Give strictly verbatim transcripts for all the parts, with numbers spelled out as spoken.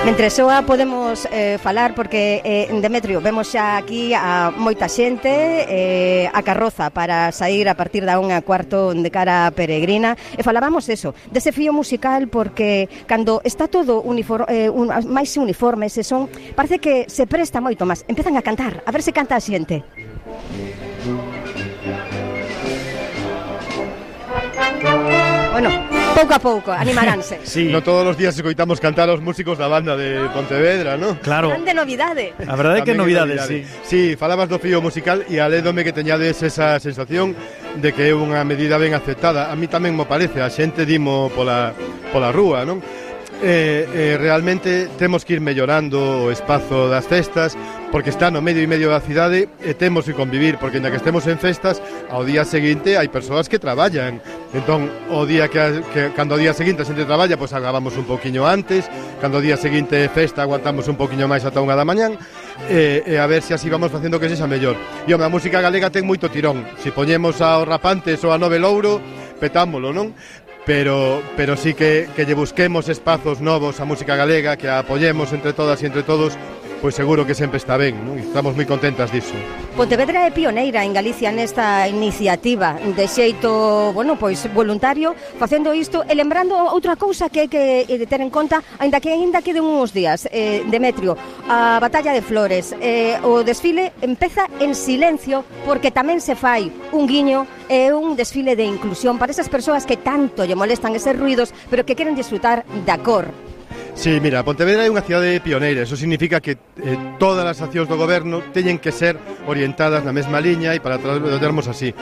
Mentre soa podemos eh, falar porque eh, Demetrio, vemos xa aquí a moita xente eh, a carroza para sair a partir da unha cuarto de cara a Peregrina e falábamos eso, dese fío musical porque cando está todo uniforme, eh, un, máis uniforme se son, parece que se presta moito máis, empezan a cantar, a ver se canta a xente. Bueno, pouco a pouco, animaránse. Sí. No todos os días escoitamos cantar aos músicos da banda de Pontevedra, ¿no? Claro. Grande novidade. A verdade é que novidades, novidade. sí. Sí, falabas do fío musical e alédome que teñades esa sensación de que é unha medida ben aceptada. A mí tamén mo parece, a xente dimo pola, pola rúa, non? Eh, eh, realmente temos que ir mellorando o espazo das festas porque está no medio e medio da cidade e temos que convivir porque ainda que estemos en festas ao día seguinte hai persoas que traballan entón o día que, que cando o día seguinte a xente traballa pois agabamos un poquinho antes cando o día seguinte é festa aguantamos un poquinho máis ata unha da mañán e, e a ver se así vamos facendo que sexa mellor e home, a música galega ten moito tirón se poñemos aos Rapantes ou a Nove Louro petámolo, non? Pero, pero sí que, que lle busquemos espazos novos a música galega, que a apoyemos entre todas e entre todos, pois seguro que sempre está ben, non? Estamos moi contentas disso. Pontevedra é pioneira en Galicia nesta iniciativa de xeito, bueno, pois voluntario, facendo isto e lembrando outra cousa que hai que ter en conta, aínda que aínda queden uns días, eh, Demetrio, a Batalla de Flores, eh, o desfile empeza en silencio porque tamén se fai un guiño e un desfile de inclusión para esas persoas que tanto lle molestan eses ruidos, pero que queren disfrutar da cor. Sí, mira, Pontevedra é unha cidade pioneira, eso significa que eh, todas as accións do goberno teñen que ser orientadas na mesma liña e para traballarmos así.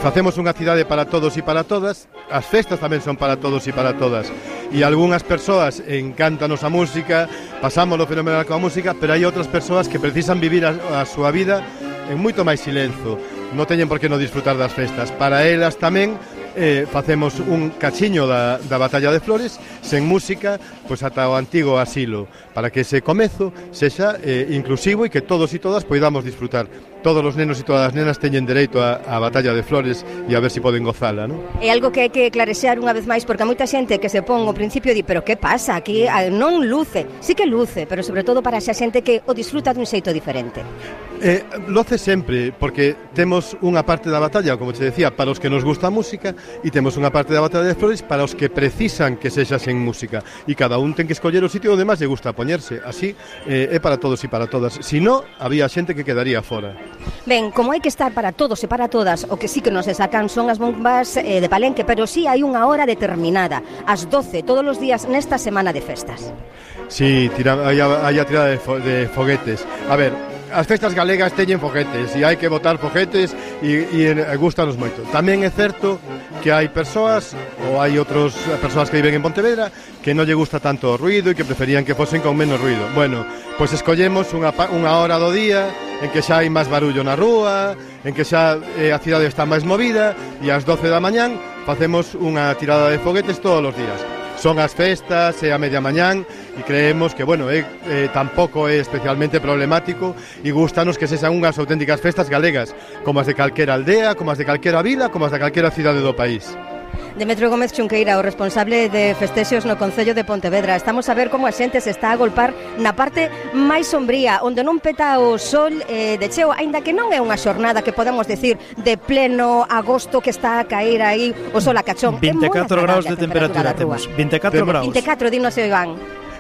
Facemos unha cidade para todos e para todas, as festas tamén son para todos e para todas. E algunhas persoas encántanos a música, pasámoslo fenomenal coa música, pero hai outras persoas que precisan vivir a, a súa vida en moito máis silencio. Non teñen por que non disfrutar das festas. Para elas tamén eh, facemos un cachiño da, da Batalla de Flores sen música, pois ata o antigo asilo, para que ese comezo sexa eh, inclusivo e que todos e todas poidamos disfrutar. Todos os nenos e todas as nenas teñen dereito a, a Batalla de Flores e a ver se si poden gozala, non? É algo que hai que clarexear unha vez máis porque a moita xente que se pon ao principio di, pero que pasa? Aquí non luce. Sí que luce, pero sobre todo para esa xente que o disfruta dun xeito diferente. Eh, loce sempre, porque temos unha parte da batalla, como te decía, para os que nos gusta a música e temos unha parte da Batalla de Flores para os que precisan que sexa sen música e cada un ten que escoller o sitio onde máis lle gusta poñerse, así eh, é para todos e para todas, si no, había xente que quedaría fora. Ben, como hai que estar para todos e para todas, o que sí que nos sacan son as bombas eh, de Palenque, pero sí hai unha hora determinada, ás doce, todos os días nesta semana de festas. Sí, tira, hai, a, hai a tirada de, fo, de foguetes. A ver, as festas galegas teñen foguetes e hai que botar foguetes e, e, e gustanos moito. Tamén é certo que hai persoas ou hai outras persoas que viven en Pontevedra que non lle gusta tanto o ruido e que preferían que fosen con menos ruido. Bueno, pois escollemos unha, unha hora do día en que xa hai máis barullo na rúa, en que xa eh, a cidade está máis movida e ás doce da mañán facemos unha tirada de foguetes todos os días. Son as festas e a media mañán e creemos que, bueno, eh, eh, tampouco é especialmente problemático e gustanos que sexan unhas auténticas festas galegas, como as de calquera aldea, como as de calquera vila, como as de calquera cidade do país. Demetrio Gómez Chunqueira, o responsable de festexos no Concello de Pontevedra. Estamos a ver como a xente se está a golpar na parte máis sombría, onde non peta o sol eh, de cheo, aínda que non é unha xornada que podemos decir de pleno agosto que está a caer aí o sol a cachón. vinte e catro graus de temperatura, temperatura temos. vinte e catro graus. vinte e catro, dinos Iván.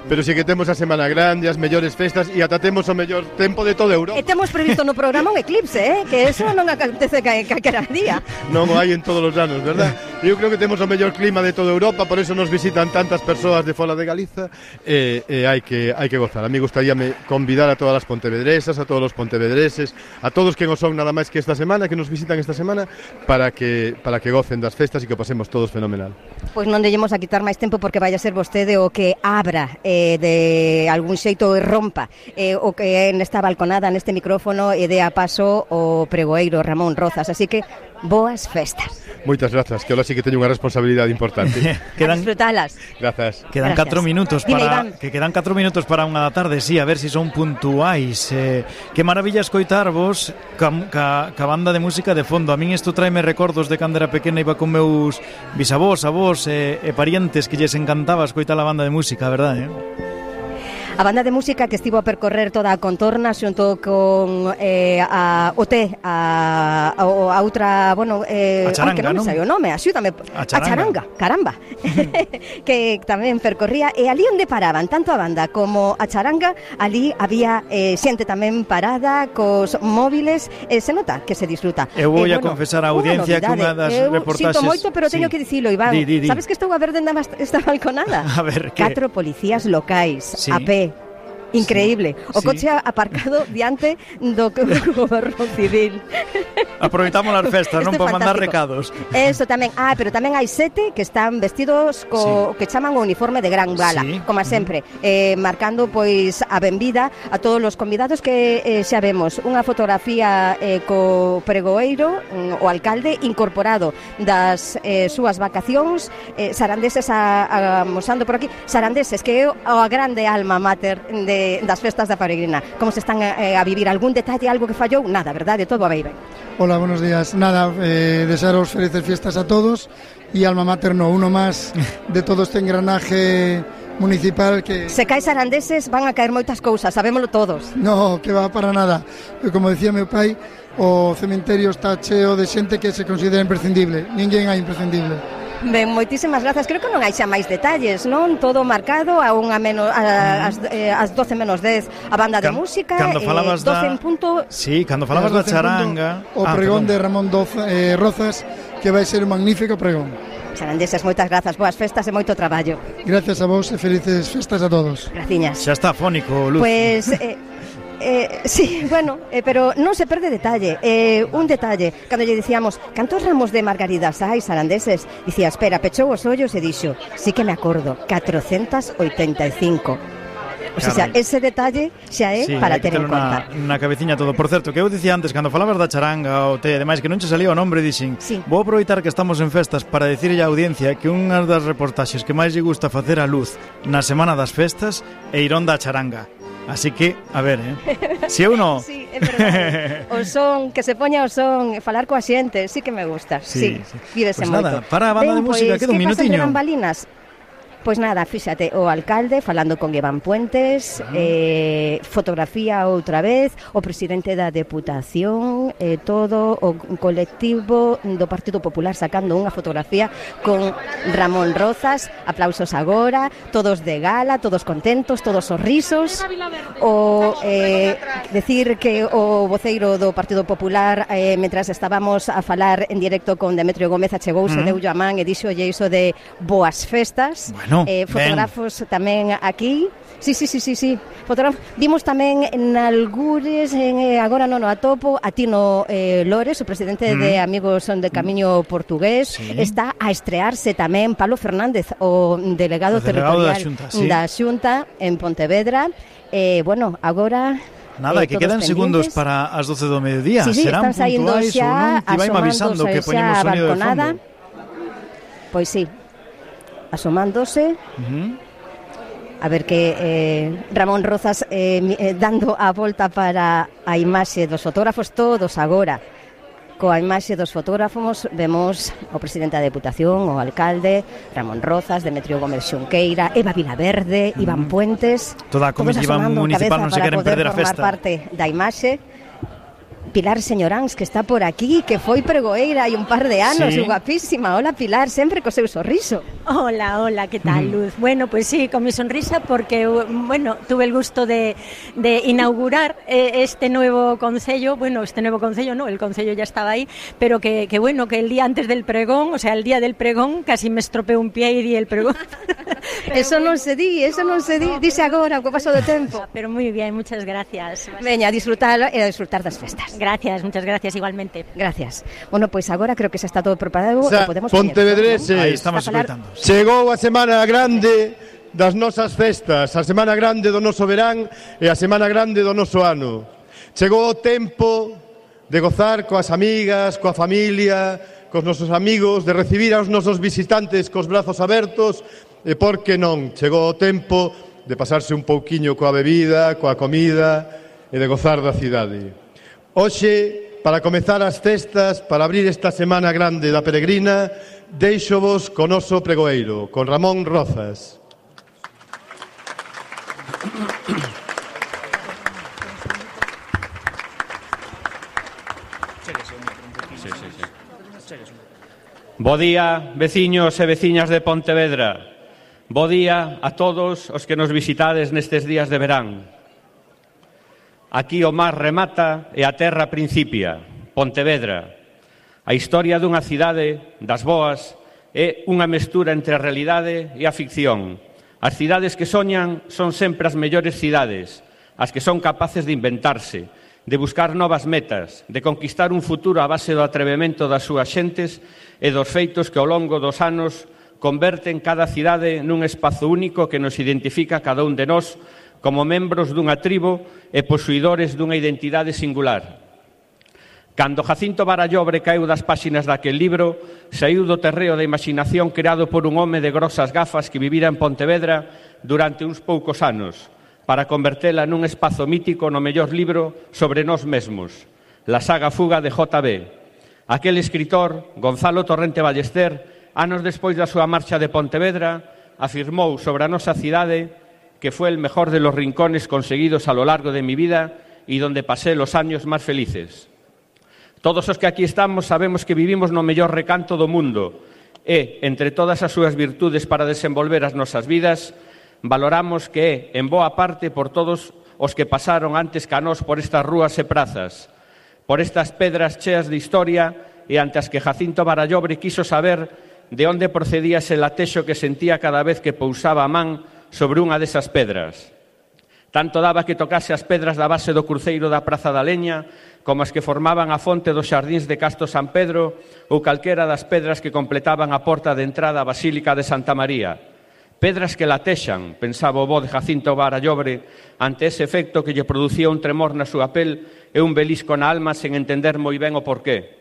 Pero si que temos a Semana Grande, as mellores festas e ata temos o mellor tempo de toda Europa. E temos previsto no programa un eclipse, eh? Que eso non acontece calquera día. Non o hai en todos os anos, verdad? Eu creo que temos o mellor clima de toda Europa, por eso nos visitan tantas persoas de fora de Galiza e, e hai que hai que gozar. A mí gustaríame convidar a todas as pontevedresas, a todos os pontevedreses, a todos que non son nada máis que esta semana, que nos visitan esta semana, para que para que gocen das festas e que pasemos todos fenomenal. Pois non dellemos a quitar máis tempo porque vai a ser vostede o que abra eh, de algún xeito e rompa eh, o que é nesta balconada, neste micrófono e dé a paso o pregoeiro Ramón Rozas, así que boas festas. Moitas grazas, que ahora sí que teño unha responsabilidade importante. quedan, a disfrutalas. Grazas. Quedan catro minutos para Dime, que quedan catro minutos para unha da tarde, sí, a ver se si son puntuais. Eh, que maravilla escoitarvos ca, ca, ca banda de música de fondo. A min isto traime recordos de cando era pequena, iba con meus bisavós, avós e, e parientes que lles encantaba escoitar a banda de música, verdade, eh? A banda de música que estivo a percorrer toda a contorna xunto con eh, a O T, a, a, a outra, bueno, eh, a charanga, que non me non? sai o nome, axúdame, a charanga, a charanga caramba, que tamén percorría, e ali onde paraban, tanto a banda como a charanga, ali había eh, xente tamén parada, cos móviles, e se nota que se disfruta. Eu vou eh, a bueno, confesar a audiencia que unha das eu reportaxes... sinto moito, pero teño sí. que dicilo, Iván. Di, di, di. Sabes que estou a ver dende esta balconada? A ver, que... Catro policías locais, sí. a pé. Increíble. O sí. coche aparcado diante do goberno civil. Aproveitamos as festas, non para mandar recados. Eso tamén. Ah, pero tamén hai sete que están vestidos co sí. que chaman o uniforme de gran gala, sí. como sempre, eh, marcando pois a benvida a todos os convidados que eh, xa vemos. Unha fotografía eh, co pregoeiro, o alcalde incorporado das eh, súas vacacións, eh, sarandeses a, a, mosando por aquí, sarandeses que é a grande alma mater de das festas da Peregrina. Como se están eh, a vivir? Algún detalle, algo que fallou? Nada, verdade? Todo a ben. Hola, buenos días. Nada, eh, desearos felices fiestas a todos y alma mater no, uno más de todo este engranaje municipal que... Se cae sarandeses van a caer moitas cousas, sabémolo todos. No, que va para nada. Como decía meu pai, o cementerio está cheo de xente que se considera imprescindible. Ninguén hai imprescindible. Ben, moitísimas grazas. Creo que non hai xa máis detalles, non? Todo marcado a unha menos a, as, eh, as doce menos dez a banda de Can, música, cando falabas eh, doce da... en punto. Sí, cando falabas da charanga, punto, o pregón ah, de Ramón Doza, eh, Rozas, que vai ser un magnífico pregón. Sarandeses, moitas grazas, boas festas e moito traballo. Gracias a vos e felices festas a todos. Graciñas. Xa está fónico, Luz. Pues eh, Eh, sí, bueno, eh, pero non se perde detalle. eh, Un detalle, cando lle dicíamos cantos ramos de margaridas hai, sarandeses, dicía, espera, pechou os ollos e dixo, sí que me acordo, catrocentos oitenta e cinco. O sea, ese detalle xa é sí, para ter en na, conta. na cabeciña todo. Por certo, que eu dicía antes, cando falabas da charanga o te, ademais que non che salía o nombre, dixen, sí. vou aproveitar que estamos en festas para dicirlle á audiencia que unha das reportaxes que máis lle gusta facer a Luz na semana das festas é ir onda a charanga. Así que, a ver, eh? Si eu non... Sí, é verdade. O son, que se poña o son, falar coa xente, sí que me gusta. Sí, sí, sí. Vívese pues moito. nada, para a banda ben, de música, pues, queda un minutiño. Que pasa entre bambalinas? Pois nada, fíxate, o alcalde falando con Iván Puentes, uh-huh. eh, fotografía outra vez, o presidente da Deputación, eh, todo o colectivo do Partido Popular sacando unha fotografía con Ramón Rozas, aplausos agora, todos de gala, todos contentos, todos sorrisos. O eh, decir que o voceiro do Partido Popular, eh, mentras estábamos a falar en directo con Demetrio Gómez, achegouse, uh-huh. deulle a man e dixolle iso de boas festas. Bueno. Eh, fotógrafos ben. Tamén aquí. Sí, sí, sí, sí, sí. Fotógrafos. Vimos tamén en algures, en, eh, agora non o atopo, a Tino eh, Lores, o presidente mm. de Amigos de Camiño Portugués, sí. Está a estrearse tamén Pablo Fernández, o delegado, o delegado territorial da Xunta, sí. da Xunta en Pontevedra. Eh, bueno, agora... Nada, eh, que quedan pendientes. Segundos para as doce do mediodía. Sí, sí, serán están puntuais ou non? Te vai avisando que poñemos sonido de fondo. Pois sí. Asomándose uh-huh. a ver que eh, Ramón Rozas eh, eh, dando a volta para a imaxe dos fotógrafos todos agora coa imaxe dos fotógrafos vemos o presidente da Deputación, o alcalde Ramón Rozas, Demetrio Gómez Xunqueira, Eva Vilaverde, uh-huh. Iván Puentes, toda a comitiva municipal non se queren perder a festa, parte da imaxe. Pilar Señoráns, que está por aquí, que foi pregoeira hai un par de anos, sí. Guapísima. Hola, Pilar, sempre co seu sorriso. Hola, hola, ¿qué tal, Luz? Mm. Bueno, pues sí, con mi sonrisa porque, bueno, tuve el gusto de, de inaugurar eh, este nuevo concello, bueno, este nuevo concello no, el concello ya estaba ahí, pero que, que bueno, que el día antes del pregón, o sea, el día del pregón, casi me estropeé un pie y di el pregón. Eso bueno. non se di, eso non se di, dice agora, co paso do tempo. Pero muy bien, muchas gracias. Veña, a disfrutar e a disfrutar das festas. Gracias, muchas gracias igualmente. Gracias. Bueno, pois pues agora creo que xa está todo preparado, o sea, podemos Pontevedreses, ¿no? Aí estamos escoitando. Chegou a semana grande das nosas festas, a semana grande do noso verán e a semana grande do noso ano. Chegou o tempo de gozar coas amigas, coa familia, cos nosos amigos, de recibir aos nosos visitantes cos brazos abertos e, por que non, chegou o tempo de pasarse un pouquiño coa bebida, coa comida e de gozar da cidade. Hoxe, para comezar as festas, para abrir esta semana grande da Peregrina, deixovos con noso pregoeiro, con Ramón Rozas. Bo día, veciños e veciñas de Pontevedra. Bo día a todos os que nos visitades nestes días de verán. Aquí o mar remata e a terra principia, Pontevedra. A historia dunha cidade das boas é unha mestura entre a realidade e a ficción. As cidades que soñan son sempre as mellores cidades, as que son capaces de inventarse, de buscar novas metas, de conquistar un futuro a base do atrevemento das súas xentes e dos feitos que ao longo dos anos converten cada cidade nun espazo único que nos identifica cada un de nós como membros dunha tribo e posuidores dunha identidade singular. Cando Jacinto Barallobre caeu das páxinas daquel libro, saiu do terreo da imaginación creado por un home de grosas gafas que vivira en Pontevedra durante uns poucos anos, para convertela nun espazo mítico no mellor libro sobre nós mesmos, La saga fuga de J B. Aquel escritor, Gonzalo Torrente Ballester, anos despois da súa marcha de Pontevedra, afirmou sobre a nosa cidade que foi el mejor de los rincones conseguidos a lo largo de mi vida y donde pasé los años más felices. Todos os que aquí estamos sabemos que vivimos no mellor recanto do mundo e, entre todas as súas virtudes para desenvolver as nosas vidas, valoramos que é, en boa parte, por todos os que pasaron antes que a nós por estas rúas e prazas, por estas pedras cheas de historia e ante as que Jacinto Barallobre quiso saber de onde procedía ese latexo que sentía cada vez que pousaba a man sobre unha desas pedras. Tanto daba que tocase as pedras da base do cruceiro da Praza da Leña, como as que formaban a fonte dos xardíns de Casto San Pedro ou calquera das pedras que completaban a porta de entrada á Basílica de Santa María. Pedras que latexan, pensaba o bo de Jacinto Barallobre, ante ese efecto que lle producía un tremor na súa pel e un belisco na alma sen entender moi ben o porqué.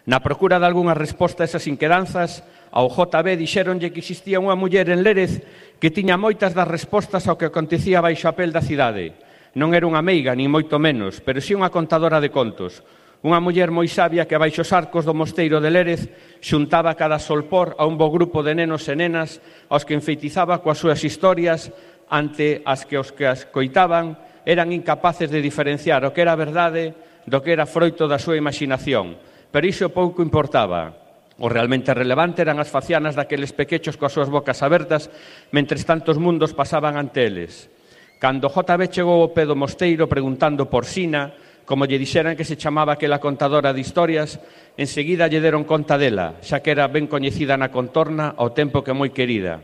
Na procura de algunha resposta a esas inquedanzas, ao J B dixéronlle que existía unha muller en Lérez que tiña moitas das respostas ao que acontecía baixo a pel da cidade. Non era unha meiga, nin moito menos, pero si unha contadora de contos. Unha muller moi sabia que baixo os arcos do mosteiro de Lérez xuntaba cada solpor a un bo grupo de nenos e nenas aos que enfeitizaba coas súas historias ante as que os que as coitaban eran incapaces de diferenciar o que era verdade do que era froito da súa imaginación. Pero iso pouco importaba. O realmente relevante eran as facianas daqueles pequechos coas súas bocas abertas mentres tantos mundos pasaban ante eles. Cando J B chegou ao pé do mosteiro preguntando por Sina, como lle dixeran que se chamaba aquela contadora de historias, enseguida lle deron conta dela, xa que era ben coñecida na contorna ao tempo que moi querida.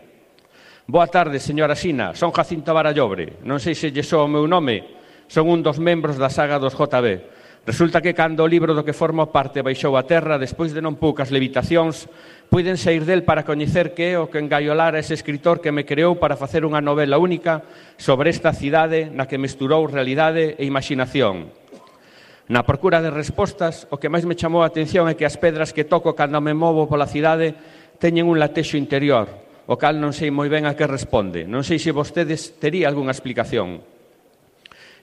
Boa tarde, señora Sina, son Jacinto Barallobre. Non sei se lle soa o meu nome, son un dos membros da saga dos J B. Resulta que cando o libro do que forma parte baixou a terra, despois de non poucas levitacións, puiden sair del para coñecer que é o que engaiolara ese escritor que me creou para facer unha novela única sobre esta cidade na que mesturou realidade e imaginación. Na procura de respostas, o que máis me chamou a atención é que as pedras que toco cando me movo pola cidade teñen un latexo interior, o cal non sei moi ben a que responde. Non sei se vostedes tería algunha explicación.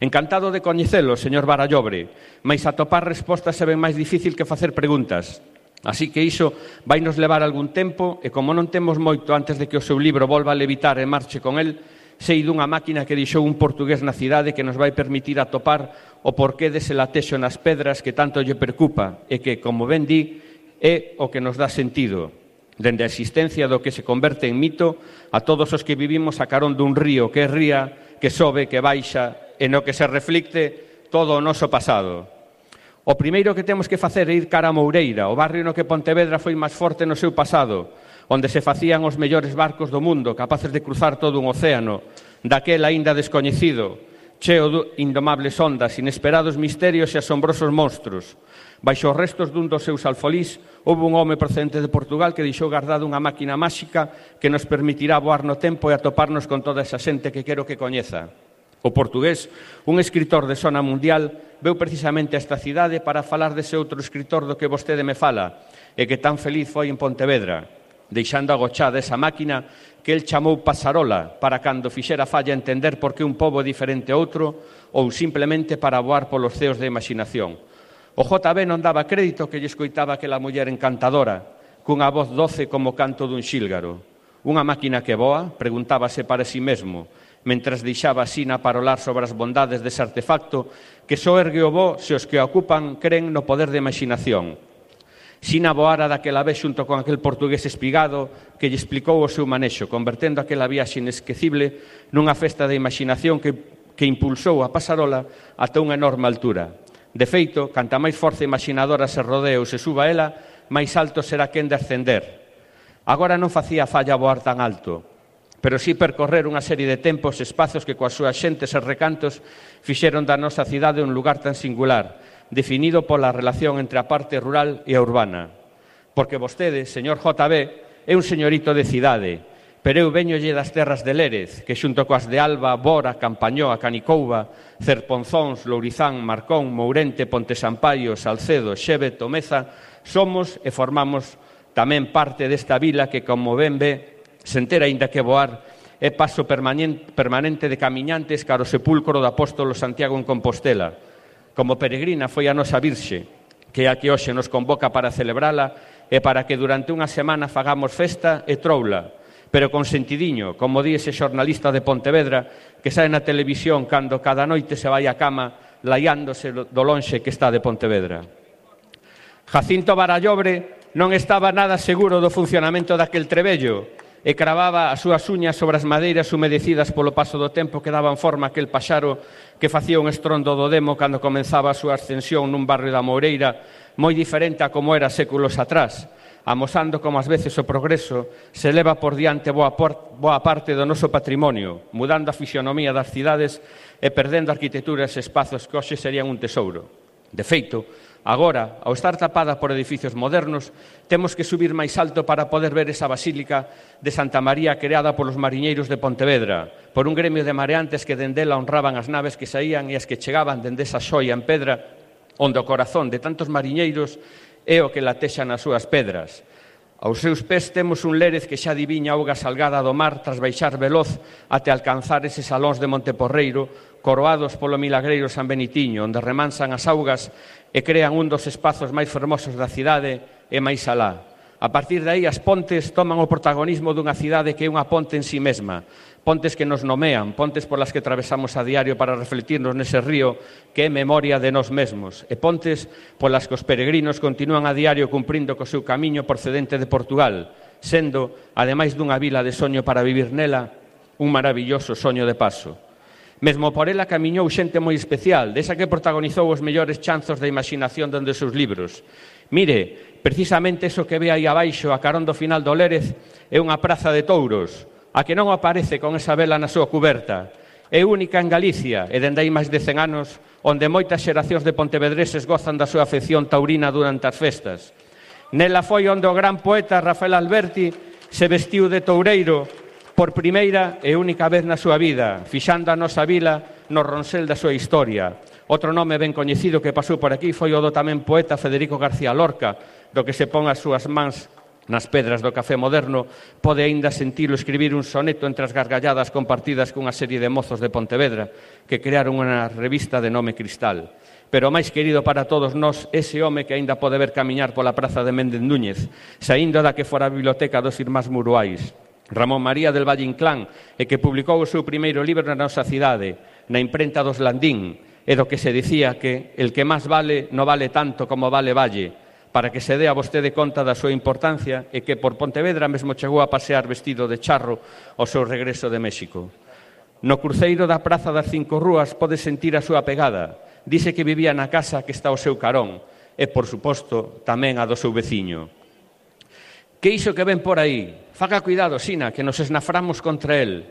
Encantado de coñecelo, señor Barallobre, mais atopar respostas é ben máis difícil que facer preguntas. Así que iso vai nos levar algún tempo e como non temos moito antes de que o seu libro volva a levitar e marche con el, sei dunha máquina que deixou un portugués na cidade que nos vai permitir atopar o porqué dese latexo nas pedras que tanto lle preocupa e que, como ben di, é o que nos dá sentido. Dende a existencia do que se converte en mito a todos os que vivimos a carón dun río que ría, que sobe, que baixa e no que se reflicte todo o noso pasado. O primeiro que temos que facer é ir cara a Moureira, o barrio no que Pontevedra foi máis forte no seu pasado, onde se facían os mellores barcos do mundo, capaces de cruzar todo un océano, daquel aínda descoñecido, cheo de indomables ondas, inesperados misterios e asombrosos monstros. Baixo os restos dun dos seus alfolís, houve un home procedente de Portugal que deixou guardada unha máquina máxica que nos permitirá voar no tempo e atoparnos con toda esa xente que quero que coñeza. O portugués, un escritor de sona mundial, veu precisamente a esta cidade para falar dese outro escritor do que vostede me fala e que tan feliz foi en Pontevedra, deixando agochada esa máquina que el chamou Pasarola para cando fixera falla entender por que un pobo é diferente a outro ou simplemente para voar polos ceos de imaginación. O J B non daba crédito que lle escoitaba aquela muller encantadora, cunha voz doce como canto dun xílgaro. Unha máquina que voa, preguntábase para si mesmo, mentras deixaba Sina parolar sobre as bondades dese artefacto que só ergue o voo se os que o ocupan creen no poder de imaginación. Sina voara daquela vez xunto con aquel portugués espigado que lle explicou o seu manexo, convertendo aquela viaxe inesquecible nunha festa de imaginación que, que impulsou a pasarola ata unha enorme altura. De feito, canta máis forza imaginadora se rodee ou se suba ela, máis alto será quen de ascender. Agora non facía falla voar tan alto, pero sí percorrer unha serie de tempos e espazos que coas súas xentes e recantos fixeron da nosa cidade un lugar tan singular, definido pola relación entre a parte rural e a urbana. Porque vostede, señor J B, é un señorito de cidade, pero eu veñolle das terras de Lérez, que xunto coas de Alba, Bora, Campañoa, Canicouva, Cerponzóns, Lourizán, Marcón, Mourente, Ponte Sampaio, Salcedo, Xeve, Tomeza, somos e formamos tamén parte desta vila que, como ben ve, sen ter aínda que voar, é paso permanente de camiñantes cara ao sepulcro do apóstolo Santiago en Compostela. Como peregrina foi a nosa Virxe, que é a que hoxe nos convoca para celebrala e para que durante unha semana fagamos festa e troula, pero con sentidiño, como di ese xornalista de Pontevedra que sae na televisión cando cada noite se vai á cama laiándose do lonxe que está de Pontevedra. Jacinto Barallobre non estaba nada seguro do funcionamento daquel trebello e cravaba as súas uñas sobre as madeiras humedecidas polo paso do tempo que daban forma a aquel paxaro que facía un estrondo do demo cando comenzaba a súa ascensión nun barrio da Moureira moi diferente a como era séculos atrás, amosando como ás veces o progreso se leva por diante boa, por, boa parte do noso patrimonio, mudando a fisionomía das cidades e perdendo arquitecturas e espazos que hoxe serían un tesouro. De feito, agora, ao estar tapada por edificios modernos, temos que subir máis alto para poder ver esa basílica de Santa María creada polos mariñeiros de Pontevedra, por un gremio de mareantes que dendela honraban as naves que saían e as que chegaban dende esa xoia en pedra, onde o corazón de tantos mariñeiros é o que latexa nas súas pedras. Aos seus pés temos un Lérez que xa adiviña a auga salgada do mar tras baixar veloz até alcanzar eses salóns de Monteporreiro, coroados polo milagreiro San Benitiño, onde remansan as augas e crean un dos espazos máis fermosos da cidade e máis alá. A partir de aí, as pontes toman o protagonismo dunha cidade que é unha ponte en si mesma, pontes que nos nomean, pontes polas que atravesamos a diario para refletirnos nese río que é memoria de nós mesmos, e pontes polas que os peregrinos continúan a diario cumprindo co seu camiño procedente de Portugal, sendo, ademais dunha vila de soño para vivir nela, un maravilloso soño de paso. Mesmo por ela camiñou xente moi especial, desa que protagonizou os mellores chanzos da imaginación dende os seus libros. Mire, precisamente eso que ve aí abaixo, a carón do final do Lérez, é unha praza de touros, a que non aparece con esa vela na súa cuberta. É única en Galicia e dende aí máis de cen anos, onde moitas xeracións de pontevedreses gozan da súa afección taurina durante as festas. Nela foi onde o gran poeta Rafael Alberti se vestiu de toureiro por primeira e única vez na súa vida, fixando a nosa vila no ronsel da súa historia. Outro nome ben coñecido que pasou por aquí foi o do tamén poeta Federico García Lorca, do que se pon as súas mans nas pedras do café moderno, pode aínda sentilo escribir un soneto entre as gargalladas compartidas cunha serie de mozos de Pontevedra que crearon unha revista de nome Cristal. Pero o máis querido para todos nós, ese home que aínda pode ver camiñar pola praza de Méndez Núñez, saindo da que fora a biblioteca dos Irmáns Muruais, Ramón María del Valle Inclán, e que publicou o seu primeiro libro na nosa cidade, na imprenta dos Landín, e do que se dicía que el que máis vale non vale tanto como vale Valle, para que se dé a vostede conta da súa importancia e que por Pontevedra mesmo chegou a pasear vestido de charro ao seu regreso de México. No cruceiro da Praza das Cinco Rúas pode sentir a súa pegada. Dice que vivía na casa que está ao seu carón e, por suposto, tamén a do seu veciño. Que iso que ven por aí? Faga cuidado, Sina, que nos esnaframos contra el.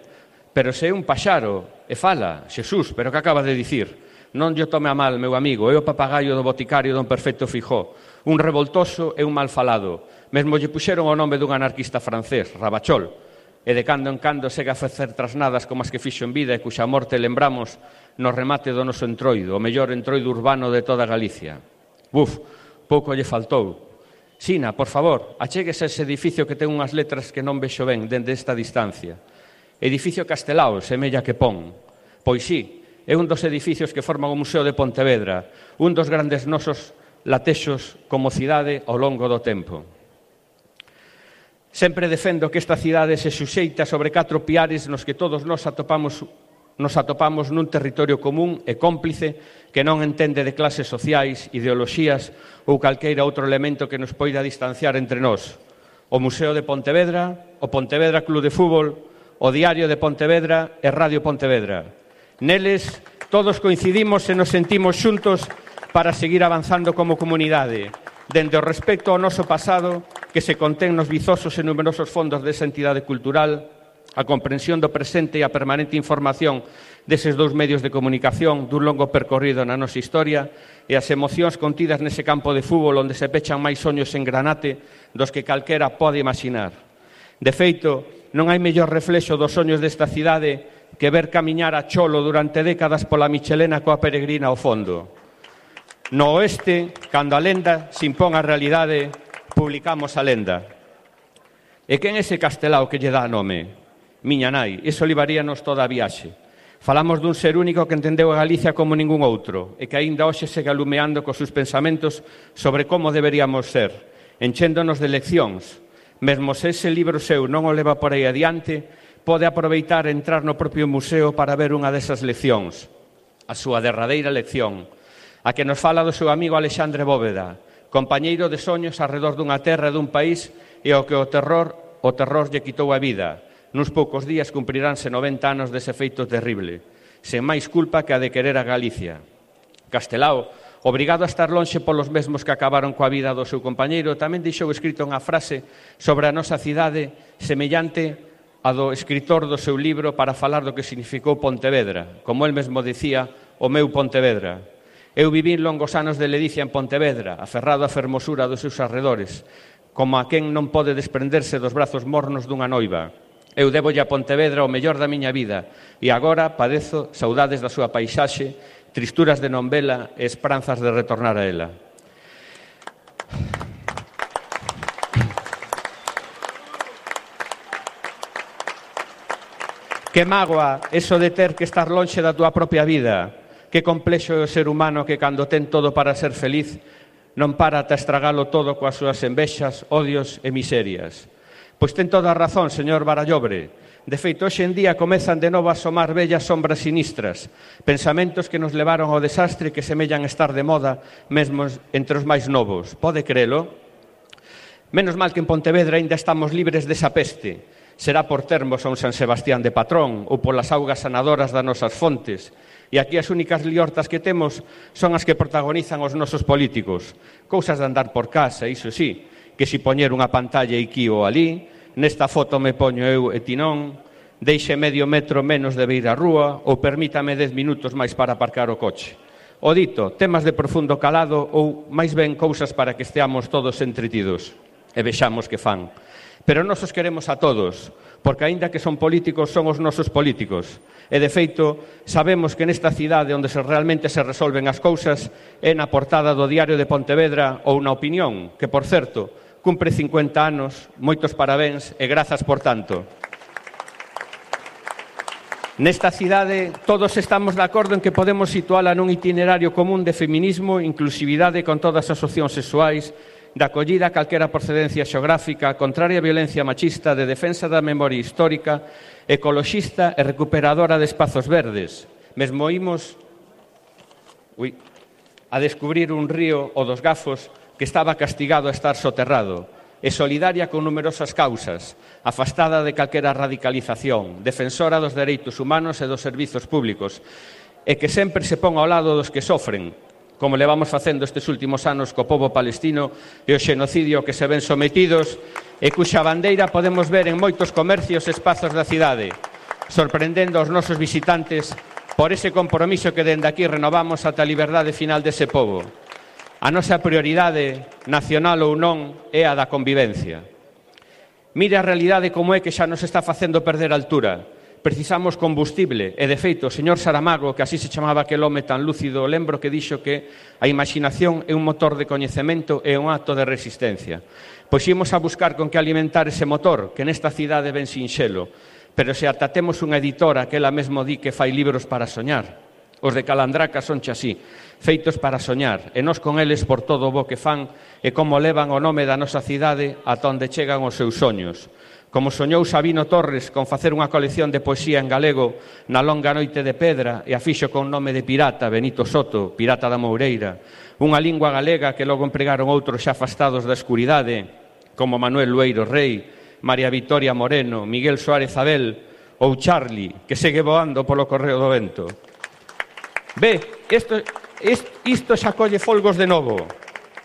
Pero se é un paxaro, e fala, Xesús, pero que acaba de dicir? Non lle tome a mal, meu amigo, é o papagaio do boticario don Perfecto Fijó, un revoltoso e un mal falado. Mesmo lle puxeron o nome dun anarquista francés, Rabachol, e de cando en cando segue a facer trasnadas como as que fixo en vida e cuxa morte lembramos no remate do noso entroido, o mellor entroido urbano de toda Galicia. Buf, pouco lle faltou. Sina, por favor, achéguese a ese edificio que ten unhas letras que non vexo ben dende esta distancia. Edificio Castelao, semella que pon. Pois sí, é un dos edificios que forman o Museo de Pontevedra, un dos grandes nosos latexos como cidade ao longo do tempo. Sempre defendo que esta cidade se suxeita sobre catro piares nos que todos nós atopamos, nos atopamos nun territorio común e cómplice que non entende de clases sociais, ideoloxías ou calqueira outro elemento que nos poida distanciar entre nós. O Museo de Pontevedra, o Pontevedra Club de Fútbol, o Diario de Pontevedra e Radio Pontevedra. Neles todos coincidimos e nos sentimos xuntos para seguir avanzando como comunidade, dende o respecto ao noso pasado que se contén nos vizosos e numerosos fondos desa entidade cultural, a comprensión do presente e a permanente información deses dous medios de comunicación dun longo percorrido na nosa historia e as emocións contidas nese campo de fútbol onde se pechan máis soños en granate dos que calquera pode imaginar. De feito, non hai mellor reflexo dos soños desta cidade que ver camiñar a Cholo durante décadas pola Michelena coa peregrina ao fondo. No oeste, cando a lenda se impón a realidade, publicamos a lenda. E quen é ese castelao que lle dá nome? Miña nai, iso livaríanos toda a viaxe. Falamos dun ser único que entendeu a Galicia como ningún outro e que aínda hoxe segue alumeando cos seus pensamentos sobre como deberíamos ser, enchéndonos de leccións. Mesmo se ese libro seu non o leva por aí adiante, pode aproveitar e entrar no propio museo para ver unha desas leccións, a súa derradeira lección, a que nos fala do seu amigo Alexandre Bóveda, compañeiro de soños arredor dunha terra e dun país e ao que o terror, o terror lle quitou a vida. Nuns poucos días cumpriránse noventa anos dese feito terrible, sen máis culpa que a de querer a Galicia. Castelao, obrigado a estar lonxe polos mesmos que acabaron coa vida do seu compañeiro, tamén deixou escrito unha frase sobre a nosa cidade semellante a do escritor do seu libro para falar do que significou Pontevedra, como el mesmo dicía, o meu Pontevedra. Eu vivín longos anos de ledicia en Pontevedra, aferrado á fermosura dos seus arredores, como a quen non pode desprenderse dos brazos mornos dunha noiva. Eu debolle a Pontevedra o mellor da miña vida e agora padezo saudades da súa paisaxe, tristuras de non vela e esperanzas de retornar a ela. Que mágoa eso de ter que estar lonxe da túa propia vida. Que complexo é o ser humano que cando ten todo para ser feliz non para ata estragalo todo coas súas envexas, odios e miserias. Pois ten toda a razón, señor Barallobre. De feito, hoxe en día comezan de novo a asomar bellas sombras sinistras, pensamentos que nos levaron ao desastre que semellan estar de moda mesmo entre os máis novos. Pode crelo? Menos mal que en Pontevedra ainda estamos libres desa peste. Será por termos a un San Sebastián de patrón ou polas augas sanadoras das nosas fontes. E aquí as únicas liortas que temos son as que protagonizan os nosos políticos. Cousas de andar por casa, iso sí, que si poñer unha pantalla aquí ou ali, nesta foto me poño eu e ti non, deixe medio metro menos de beira a rúa ou permítame dez minutos máis para aparcar o coche. O dito, temas de profundo calado ou máis ben cousas para que esteamos todos entretidos e vexamos que fan. Pero nos os queremos a todos, porque aínda que son políticos, son os nosos políticos. E, de feito, sabemos que nesta cidade onde se realmente se resolven as cousas é na portada do Diario de Pontevedra ou na Opinión, que, por certo, cumpre cincuenta anos, moitos parabéns e grazas por tanto. Nesta cidade todos estamos de acordo en que podemos situala nun itinerario común de feminismo, inclusividade con todas as opcións sexuais, de acollida a calquera procedencia xeográfica, contraria á violencia machista, de defensa da memoria histórica, ecoloxista e recuperadora de espazos verdes. Mesmo imos ui, a descubrir un río, o dos Gafos, que estaba castigado a estar soterrado, e solidaria con numerosas causas, afastada de calquera radicalización, defensora dos dereitos humanos e dos servizos públicos, e que sempre se pon ao lado dos que sofren, como levamos facendo estes últimos anos co pobo palestino e o xenocidio que se ven sometidos e cuxa bandeira podemos ver en moitos comercios e espazos da cidade, sorprendendo aos nosos visitantes por ese compromiso que dende aquí renovamos ata a liberdade final dese pobo. A nosa prioridade, nacional ou non, é a da convivencia. Mire a realidade como é que xa nos está facendo perder altura. Precisamos combustible e, de feito, o señor Saramago, que así se chamaba aquel home tan lúcido, lembro que dixo que a imaginación é un motor de coñecemento e un acto de resistencia. Pois imos a buscar con que alimentar ese motor, que nesta cidade ven sinxelo, pero se ata temos unha editora que ela mesmo di que fai libros para soñar. Os de Calandraca son así, feitos para soñar, e nós con eles por todo o bo que fan e como levan o nome da nosa cidade ata onde chegan os seus soños. Como soñou Sabino Torres con facer unha colección de poesía en galego na longa noite de pedra e a fixo con nome de pirata, Benito Soto, pirata da Moureira, unha lingua galega que logo empregaron outros xa afastados da escuridade, como Manuel Lueiro Rei, María Victoria Moreno, Miguel Suárez Abel ou Charlie, que segue voando polo correo do vento. Ve, isto, isto xa colle folgos de novo.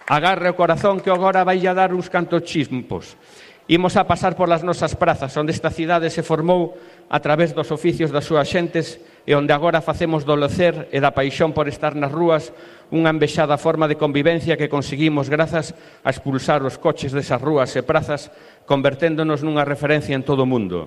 Agarre o corazón que agora vai a dar uns cantos chimpos. Imos a pasar polas nosas prazas, onde esta cidade se formou a través dos oficios das súas xentes e onde agora facemos do lecer e da paixón por estar nas rúas unha envexada forma de convivencia que conseguimos grazas a expulsar os coches desas rúas e prazas, converténdonos nunha referencia en todo o mundo.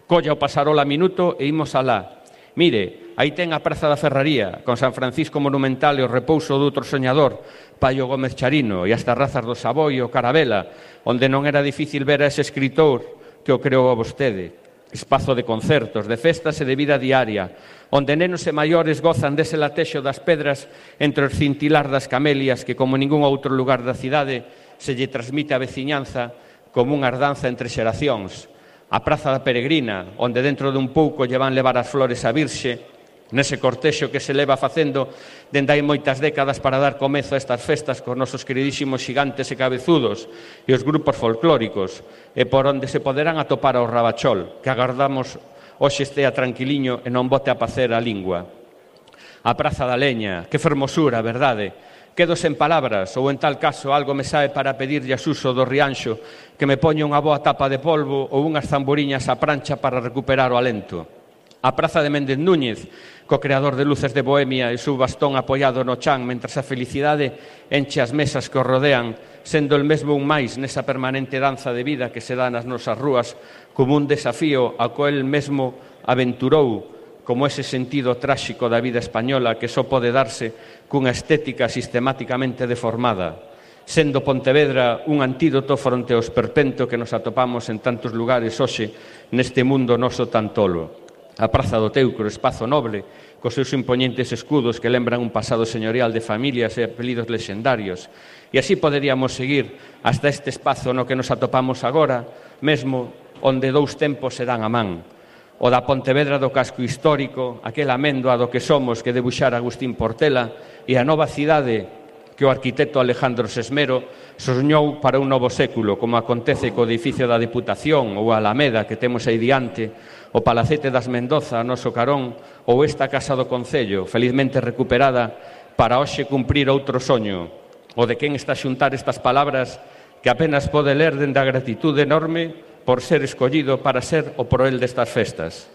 Colla o pasarola minuto e imos alá. Mire, aí ten a Praza da Ferraría, con San Francisco Monumental e o repouso do outro soñador, Paio Gómez Charino, e as terrazas do Savoy e o Carabela, onde non era difícil ver a ese escritor que o creou a vostede. Espazo de concertos, de festas e de vida diaria, onde nenos e maiores gozan dese latexo das pedras entre os cintilar das camelias que, como ningún outro lugar da cidade, se lle transmite a veciñanza como unha ardanza entre xeracións. A Praza da Peregrina, onde dentro dun pouco lle van levar as flores a Virxe, nese cortexo que se leva facendo dende hai moitas décadas para dar comezo a estas festas cos nosos queridísimos xigantes e cabezudos e os grupos folclóricos, e por onde se poderán atopar ao Rabachol, que agardamos hoxe estea tranquiliño e non bote a pacer a lingua. A Praza da Leña, que fermosura, verdade? Quedo sen palabras, ou en tal caso algo me sae para pedirlle a Suso do Rianxo que me poña unha boa tapa de polvo ou unhas zamburiñas á prancha para recuperar o alento. A Praza de Méndez Núñez, co creador de Luces de Bohemia e su bastón apoiado no chan, mentras a felicidade enche as mesas que o rodean, sendo el mesmo un máis nesa permanente danza de vida que se dá nas nosas rúas como un desafío ao que el mesmo aventurou, como ese sentido tráxico da vida española que só pode darse cunha estética sistemáticamente deformada, sendo Pontevedra un antídoto fronte ao esperpento que nos atopamos en tantos lugares hoxe neste mundo noso tan tolo. A Praza do Teucro, espazo noble, cos seus impoñentes escudos que lembran un pasado señorial de familias e apelidos lexendarios. E así poderíamos seguir hasta este espazo no que nos atopamos agora, mesmo onde dous tempos se dan a man. O da Pontevedra do casco histórico, aquela améndoa do que somos que debuxara Agustín Portela, e a nova cidade que o arquitecto Alejandro Sesmero soñou para un novo século, como acontece co edificio da Deputación ou a Alameda que temos aí diante, o Palacete das Mendoza, a noso carón, ou esta Casa do Concello, felizmente recuperada, para hoxe cumprir outro soño, o de quen está a xuntar estas palabras que apenas pode ler dende a gratitude enorme por ser escollido para ser o proel destas festas.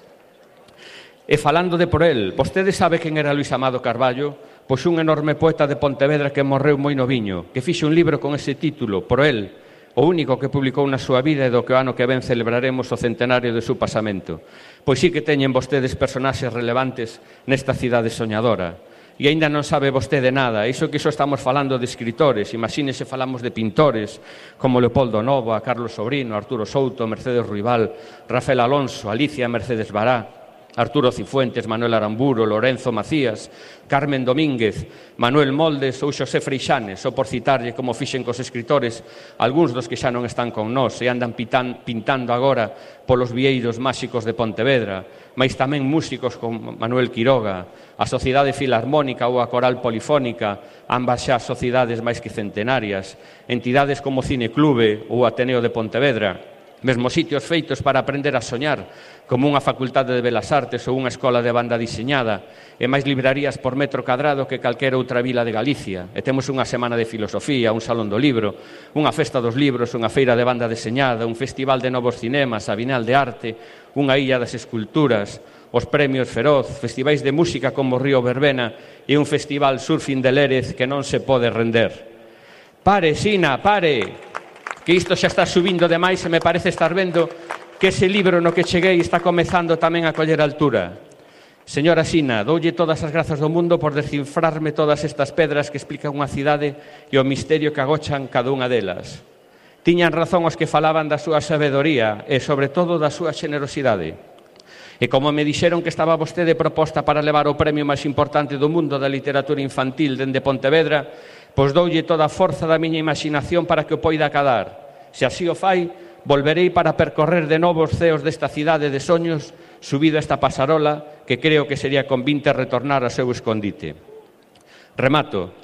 E falando de proel, vostede sabe quen era Luís Amado Carballo? Pois un enorme poeta de Pontevedra que morreu moi noviño, que fixe un libro con ese título, Proel, o único que publicou na súa vida e do que o ano que ven celebraremos o centenario de seu pasamento. Pois sí que teñen vostedes personaxes relevantes nesta cidade soñadora. E aínda non sabe vostede nada, iso que iso estamos falando de escritores, imagínese falamos de pintores como Leopoldo Novo, a Carlos Sobrino, Arturo Souto, Mercedes Ruibal, Rafael Alonso, Alicia Mercedes Bará, Arturo Cifuentes, Manuel Aramburo, Lorenzo Macías, Carmen Domínguez, Manuel Moldes ou Xosé Freixanes, ou por citarlle como fixen cos escritores, algúns dos que xa non están con nós e andan pitan, pintando agora polos vieiros máxicos de Pontevedra, mais tamén músicos como Manuel Quiroga, a Sociedade Filarmónica ou a Coral Polifónica, ambas xa sociedades máis que centenarias, entidades como Cineclube ou Ateneo de Pontevedra, mesmo sitios feitos para aprender a soñar, como unha facultade de Belas Artes ou unha escola de banda diseñada, e máis librarías por metro cadrado que calquera outra vila de Galicia. E temos unha semana de filosofía, un salón do libro, unha festa dos libros, unha feira de banda deseñada, un festival de novos cinemas, a Bienal de Arte, unha illa das esculturas, os premios Feroz, festivais de música como Río Verbena e un festival surfing de Lérez que non se pode render. Pare, Sina, pare! Que isto xa está subindo demais e me parece estar vendo que ese libro no que cheguei está comezando tamén a coller altura. Señora Sina, doulle todas as grazas do mundo por descifrarme todas estas pedras que explican unha cidade e o misterio que agochan cada unha delas. Tiñan razón os que falaban da súa sabedoría e, sobre todo, da súa xenerosidade. E como me dixeron que estaba vostede proposta para levar o premio máis importante do mundo da literatura infantil dende Pontevedra, pois doulle toda a forza da miña imaginación para que o poida acadar. Se así o fai, volverei para percorrer de novo os ceos desta cidade de soños, subido a esta pasarola, que creo que sería convinte retornar ao seu escondite. Remato.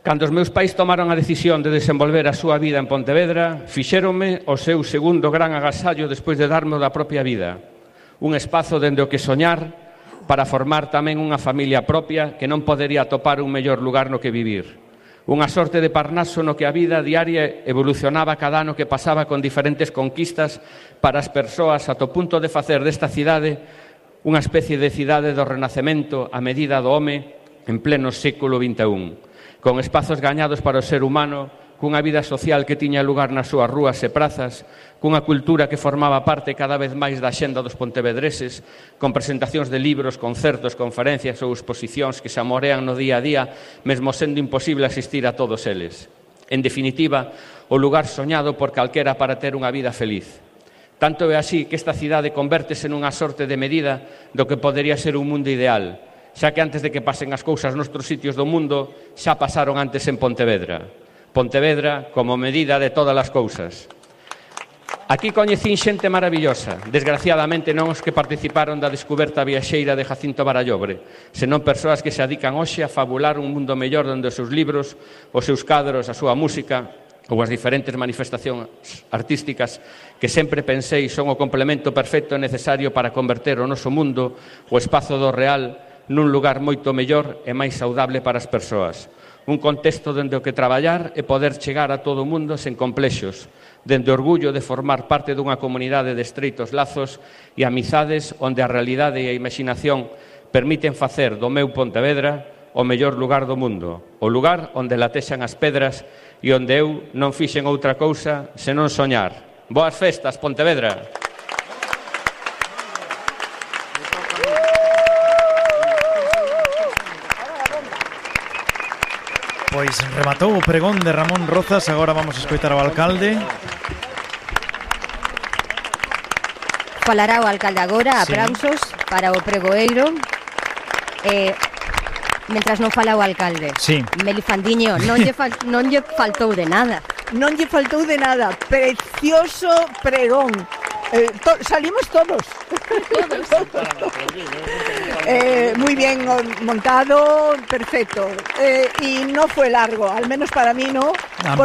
Cando os meus pais tomaron a decisión de desenvolver a súa vida en Pontevedra, fixéronme o seu segundo gran agasallo despois de darme o da propia vida. Un espazo dende o que soñar para formar tamén unha familia propia que non podería atopar un mellor lugar no que vivir. Unha sorte de Parnaso no que a vida diaria evolucionaba cada ano que pasaba con diferentes conquistas para as persoas ata o punto de facer desta cidade unha especie de cidade do Renacemento a medida do home en pleno século vinte e un. Con espazos gañados para o ser humano, cunha vida social que tiña lugar nas súas rúas e prazas, cunha cultura que formaba parte cada vez máis da xenda dos pontevedreses, con presentacións de libros, concertos, conferencias ou exposicións que se amorean no día a día, mesmo sendo imposible asistir a todos eles. En definitiva, o lugar soñado por calquera para ter unha vida feliz. Tanto é así que esta cidade convértese nunha sorte de medida do que podería ser un mundo ideal, xa que antes de que pasen as cousas noutros sitios do mundo, xa pasaron antes en Pontevedra. Pontevedra como medida de todas as cousas. Aquí coñecín xente maravillosa, desgraciadamente non os que participaron da descuberta viaxeira de Jacinto Barallobre, senón persoas que se adican hoxe a fabular un mundo mellor onde os seus libros, os seus cadros, a súa música ou as diferentes manifestacións artísticas que sempre pensei son o complemento perfecto e necesario para converter o noso mundo, o espazo do real, nun lugar moito mellor e máis saudable para as persoas. Un contexto dende o que traballar e poder chegar a todo o mundo sen complexos, dende o orgullo de formar parte dunha comunidade de estreitos lazos e amizades onde a realidade e a imaginación permiten facer do meu Pontevedra o mellor lugar do mundo, o lugar onde latexan as pedras e onde eu non fixen outra cousa senón soñar. Boas festas, Pontevedra! Pois rematou o pregón de Ramón Rozas, agora vamos a escoitar ao alcalde. Falará o alcalde agora, Sí. aplausos para o pregoeiro. Eh, mentras non fala o alcalde. Sí. Melifandiño, non lle, fal, non lle faltou de nada. Non lle faltou de nada. Precioso pregón. Eh, to, salimos todos. eh, muy bien montado, perfecto. Eh, y no fue largo, al menos para mí no.